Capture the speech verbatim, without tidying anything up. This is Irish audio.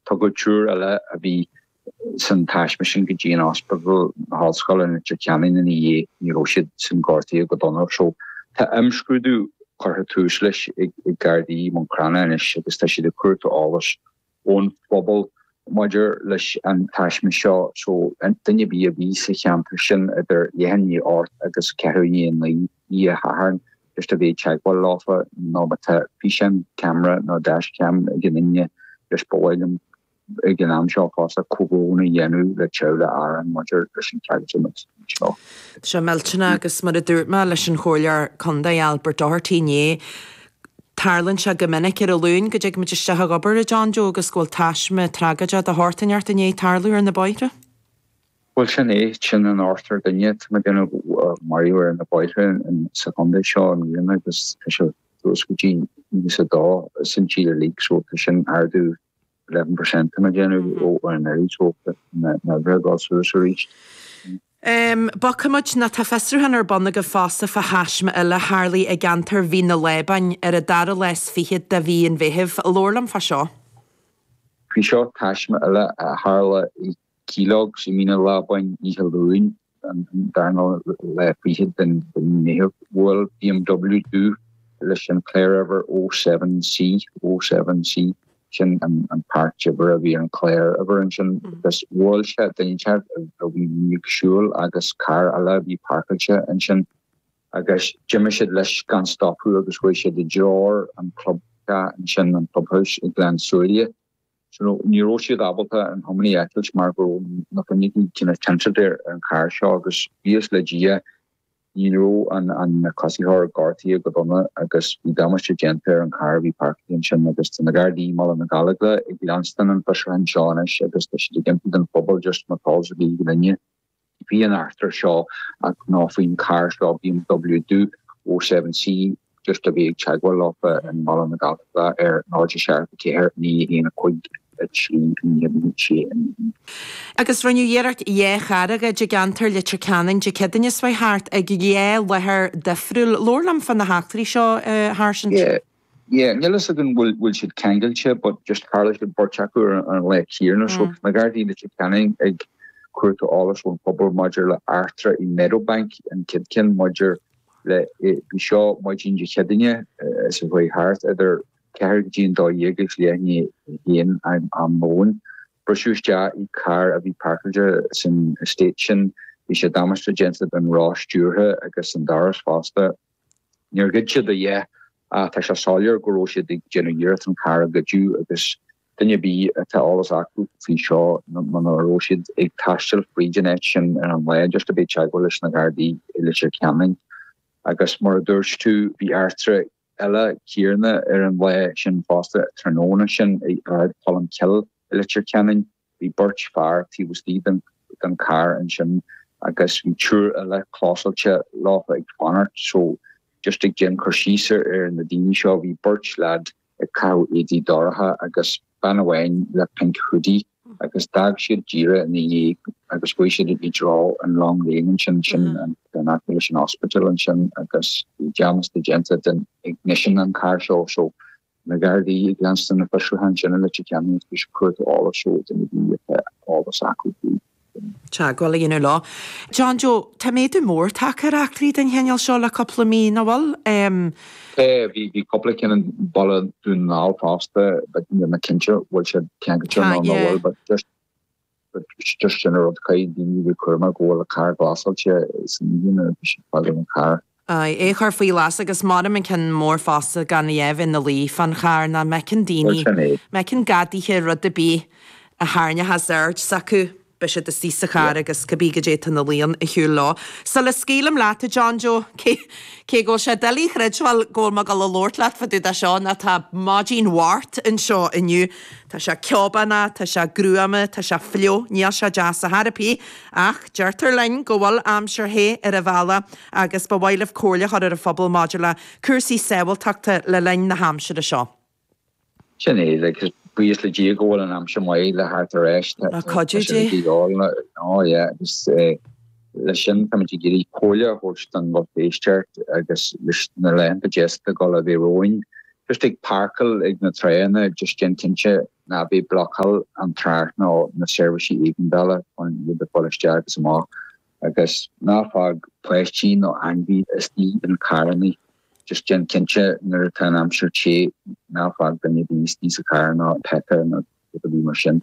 Tugadh triúr eile a bhí san taisme sin go dtí an ospidéal na hollscoile in Leitir Ceanainn ina dhiaidh, ní raibh siad sin gortaithe go dona. So tá imscrúdú curtha tús leis ag Gardaí i mBun Cranncha anois agus tá siad ag cuartú eolais ón phobal maidir leis an taisme seo. So duine ar bith a bhí sa cheantar sin idir leath i ndiaidh a hocht agus ceathrú i ndiaidh a naoi oíche Shathairn just a bheith ag teagmháil leofa nó má tá físeán ceamara nó dashcam ag aon duine just ba mhaith liom ag an am seo fosta comhbhrón a dhéanamh le teaghlach Aaron maidir leis an tragedy seo. Seo millteanach agus mar a dúirt mé leis an Chomhairleoir Contae Albert Doherty inné, tarlaíonn sé go minic ar an Luan go dtig muid isteach ag obair a John Joe agus go bhfuil taisme tragóideach de shórt inteacht i ndiaidh tarlú ar na bóithre. Bhuel sin é sin an ochtar duine tá mé ag déanamh maraíodh ar na bóithre sa chontae seo i mbliana agus tá sé suas go dtí níos a dó san tíle leak so tá sin ardú eleven percent tá mé ag déanamh ó anuraidh so na na dul suas arís. Um, Bogfaimid nó tá fiosrúchán ar bun agaibh fosta fá thaisme eile a tharlaigh i gceantar Mhín na Lábáin ar an dara lá is fiche de mhí an Mheithimh. Labhair liom fá seo. Bhí seo taisme eile a tharla i Cílog i Mín na Lábáin oíche Luain an darna lá fiche den Mheitheamh. Bhuail BMW dubh leis an cláruimhir O seven C O seven C sin an, an páirt uimhir a bhí an cláruimhir ansin agus bhuail sé duine a bhí ag siúl agus carr eile a bhí páirceáilte ansin agus d'imigh siad leis gan stopadh agus chuaigh siad i dtreo an club ansin an clubhouse i Gleann Súile. So ní raibh siad ábalta an tiománaí a fheiceáil mar go raibh na fuinneoga kind of tinted ar an charr seo agus buíochas le Dia ní raibh an an cosaitheoir gortaithe go dona agus bhí damáiste déanta ar an charr a bhí páirceáilte ansin agus tá na Gardaí i mBaile na Gallóglach ag leanstan an fiosrúchán seo anois agus tá siad ag impí don phobal just má tá eolas ag duine faoi an eachtra seo ach ná faoin carr seo BMW dubh O seven C just a bheith ag teagmháil leofa i mBaile na Gallóglach ar náid seacht ceathair naoi haon a cúig a trí naoi sé naoi. Agus rinneadh iarracht dhá charr a ghoid i gceantar Leitir Ceanainn Dé Céadaoine seo thart ag dhá láthair difriúil. Labhair liom fá na heachtraí seo a Sháirsint. Yeah, yeah, níl fhios agam bhfuil bhfuil siad ceangailte, but just tharla siad beirt acu ar an lá céanna. So na Gardaí Leitir Ceanainn ag cuartú eolas ón phobal maidir le eachtra i Meadowbank an chéad cheann maidir le bhí seo maidin Dé Céadaoine sa chuaigh thart idir ceathair go dtí an dó dhéag agus leath i ndiaidh a haon am lóin. Briseadh isteach i carr a bhí páirceáilte san estate sin, bhí sé damáiste déanta don roth stiúrtha agus an doras fosta. Níor ghoid siad a dhath ach tá sé soiléir go raibh siad ag déanamh iarracht an carr a ghoideadh agus duine ar bith atá eolas acu faoi seo muna raibh siad ag taisteal fríd an áit sin ar an lá just a bheith ag teagmháil leis na Gardaí i Leitir Ceanainn. Agus mar a dúirt tú bhí eachtra eile céanna ar an lá sin fosta tráthnóna sin i Ard Cholmcille i Leitir Ceanainn. Bhí beirt fear taobh istigh den den carr ansin agus bhí triúr eile clósáilte leofa ag fanacht so just ag déanamh cur síos ar na daoine seo bhí beirt leaid ag caitheamh éadaí dorcha agus bean amháin le pink hoodie agus d'fhág siad díreach ina dhiaidh agus chuaigh siad i dtreo an Long Lane ansin sin an aice leis an ospidéal ansin agus bhí damáiste déanta den ignition an carr seo so na Gardaí ag leanstan na fiosrúcháin sin i Leitir Ceanainn agus cuartú eolas ó duine ar bith atá eolas acu faoi. Teagmháil a dhéanamh leo. John Joe, tá méadú mór tagtha ar eachtraí den chineál seo le cúpla mí, nach bhfuil? Tá, bhí bhí cúpla ceann i mBaile Dhún na nGall fosta, but níl mé cinnte bhfuil siad ceangailte nó nach bhfuil, but just but just sin an rud caithfidh daoine a bheith cúramach go bhfuil a carr glasáilte san oíche nuair a bhí siad ag fágáil an carr. Aye, é a chur faoi ghlas agus mairim an ceann mór fosta gan a dhath bheith ina luí fán charr ná meiceann daoine, Bhuel sin é. meiceann gadaithe rud ar bith a tharraingeochas aird s'acu. Beidh siad istigh sa charr agus cibé goidé atá ina luí ann ar shiúl leo. Sula scaoilim leat, a John Joe, cé cé go bhfuil sé doiligh a chreidbheáil go bhfuil mé ag dul a labhairt leat fá dtaobh de seo ná tá maidin Mháirt anseo inniu. Tá sé ceobánach, tá sé gruama, tá sé fliuch, níl sé deas ar chor ar bith ach deirtear linn go bhfuil aimsir the ar an bhealach agus ba mhaith libh comhairle a chur ar an phobal maidir le cúrsaí sábháilteachta le linn na haimsire seo. Sin é, like, buíochas le Dia go bhfuil an aimsir maith le thart ar ais. Ná cuidiú Dé. Oh yeah, agus leis sin táimid ag iarraidh comhairle a thabhairt don lucht éisteachta agus leis na laethanta deasa ag dul a bheith romhainn. Just ag páirceáil ag na tránna, just déan cinnte Ná bí ag blocáil an trácht nó na seirbhísí éigeandála chun iad a fháil isteach agus amach agus ná fág páistí nó ainmhí istigh in carranna. Just déan cinnte nuair atá an aimsir te ná fág duine ar bith istigh sa charr nó peata nó rudaí mar sin.